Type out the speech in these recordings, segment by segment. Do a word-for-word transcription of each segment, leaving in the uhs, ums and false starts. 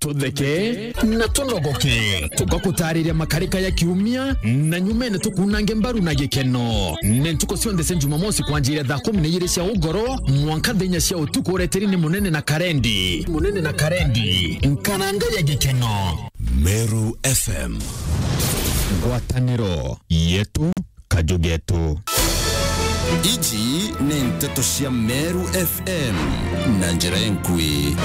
Tutheke na tunogoke, tugakutariria makarika ya kiumia, na nyumene tukunange mbaru na gikeno. Ni ntuku cionthe cia Jumamosi kwanjia thaa kumi na ijiri cia ugoro mwanka thaa inya cia utuku, ureteri ni Munene na Karendi. Munene na Karendi, nkaranga ya gikeno. Meru F M. Ngwataniro yetu, kaju getu. Iji ni nteto cia Meru F M na njira enkui.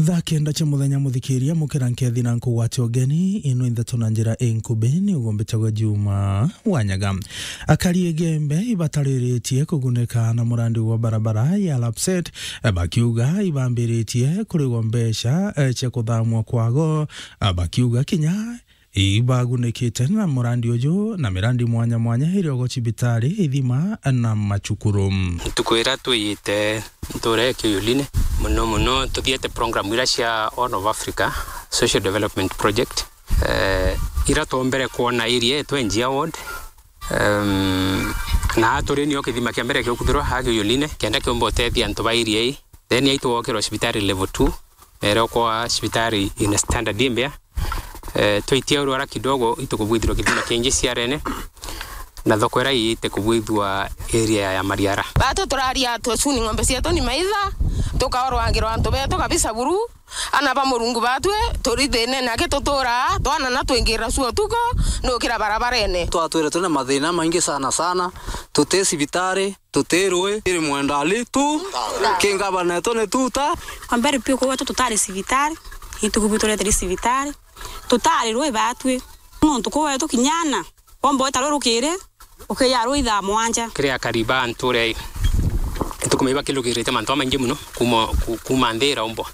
Thaa kenda cia muthenya, muthikiria, mukira nkethi na nkugwatia ugeni. Ino intheto na njira inkubi ni ugumbitagwa Juma Wanyaga. Akari Igembe ibatariritie kugunika na murandi wa barabara ya Lapset, bakiuga ibambiritie kurigwa mbeca, eh, cia kuthamwa kwago, eh, bakiuga kinya ibagunikite na murandi uju na mirandi mwanya mwanya iri ogo cibitari, ithima na macukuru. Ntuku iria twiyite ntura ya Kiyolini, muno muno tuthiete program iria cia Horn of Africa Social Development Project, eh, iria twombere kwona area yetu ya Njia Ward. Em, na turi nio kithima kia mbere kiukuthirwa ha Kiyolini, kenda kiumba utethia antu ba area ii. Then yaitwokirwa cibitari level two, na iria ukwa cibitari in standard imbea. Eh, twaitia urwara kidogo, itukubwithirwa kithima kingi ciarene, na thoko iria iite kubwithua area ya Mariara. Batu turaria twecuni ng'ombe cietu ni maitha, tukaorwangirwa antu betu kabisa buru, ana ba Murungu batwi, turi thinene aki tutura, twana na twingira cio utuku, nukira barabarene. Twatwire turi na mathina maingi sana sana, tuti cibitari, tuti rui, iri mwenda ali tu, ki ngavana etu ni tuta. Kwa mbere piu kuu gwetu tutari cibitari, ituku bwitureteri cibitari, tutari rui batwi. Nontu kuu gwetu kinyana, womba weta rui rukiri, ukiya rui thaa mwanja. Kiri akari ba ntura ii, ituku maiba kilukirite mantu amaingi muno, kuma, ku-, kuma nthi iraumbwa.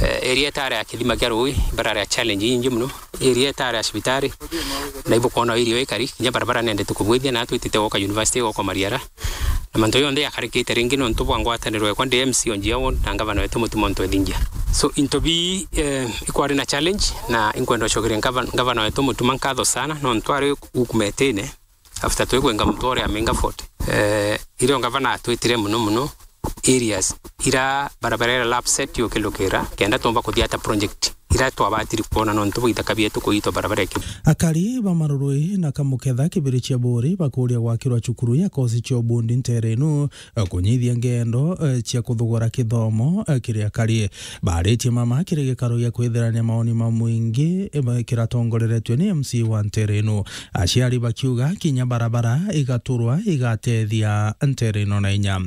Eh, area itari ya kithima kia rui, barari ya challenge ingi muno. Area itari ya cibitari, na ibukwona irio ikari, kinya barabara nendete kubwithia, na twitite gwoka university, gwoka Mariara. Na mantu jonthe jakarikite ringi nontu bwa ngwataniro ekwa ndi M C o Njia Ward na ngavana wetu Mutuma M'Ethingia. So, into bi, eh, ikwari na challenge, na inkwenda gucokeria ngava-, ngavana wetu Mutuma nkatho sana, nontu ari ukumetine, after twikwenga mutwore ya Minga Fort. Eh, irio ngavana atwitire muno muno areas ira barabara ira Lapset yukilukira, kenda tumba kuthiata project ira twabatiri kwona nontu bwa ithaka bietu kuitwa barabara iki. Akari ba Marurui na Kamuketha kibiri cia Buri bakuria gwakirwa cukuru ya kosi cia ubundi ntere inu, eh, kunyithia ngendo, eh, cia kuthugura kithomo, eh, kiri akari. Baritie mama kiri gikaro gia kwithirania maoni ma mwingi, eh, kiratongoreretue ni M C wa ntere inu. Aciari bakiuga kinya barabara igaturwa igatethia ntere ino na inya.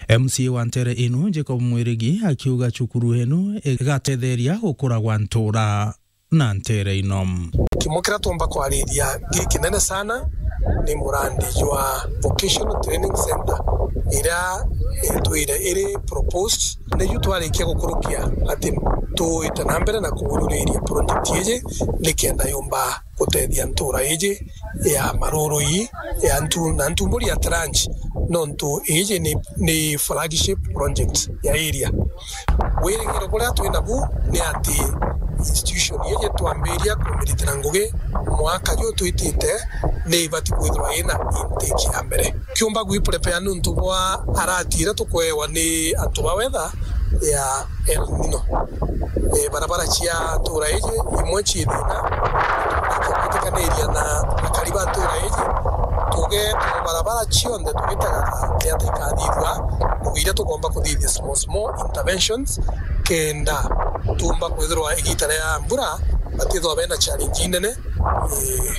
M C wa ntere inu Jacob Mwirigi akiuga cukuru inu igatetheria gukura gwa ntura na ntere ino. Kimo kiria tumba kwariria gikinene sana ni murandi jwa Vocational Training Center iria itwire iri proposed. Niu twarikia gukurukia ati tuite na mbere na kuururiria project iji nikenda yumba gutethia ntura iji ya Marurui, ya Ntu-, na Ntumburi at large, nontu iji ni, ni flagship project ya area. Wirigiro buria twi nabu ni ati institution iji twambiria kumiritira ngugi mwaka ju twitite ni ibati kwithirwa ina intake ya mbere. Kiumba gwi prepare niuntu bwa arati iria tukwewa ni antu ba weather ya El Nino. Eh, barabara cia ntura iji imwe ci thina, tukitikaniria na akari ba ntura iji, tuge barabara cionthe tugitagaga ni ata ikathithua, ngugi iria tugomba kuthithia small, small interventions, kenda tumba kwithirwa igita ria mbura batithwa bena challenge inene, eh,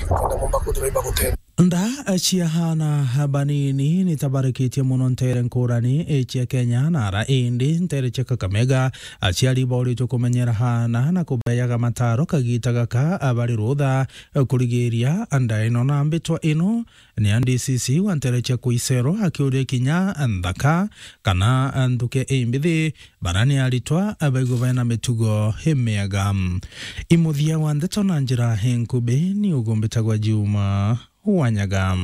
kenda bomba kwithirwa iba gutethia. Nda cia aana banini ni tabarikitie mono ntere nkurani cia Kenya na ara indi ntere cia Kakamega. Aciari bauritwe kumenyera aana na kubeyaga mataro kagita gaka bari rutha kurigiria nda ino na mbitwa ino. Ni a D C C wa ntere cia Kuisero akiuria kinya nthaka kana nthuke imbithi, bara ni aritwa baigwe bena mitugo imiega. Imuthia wa ndeto na njira inkubi ni ugumbitagwa Juma Wanyaga.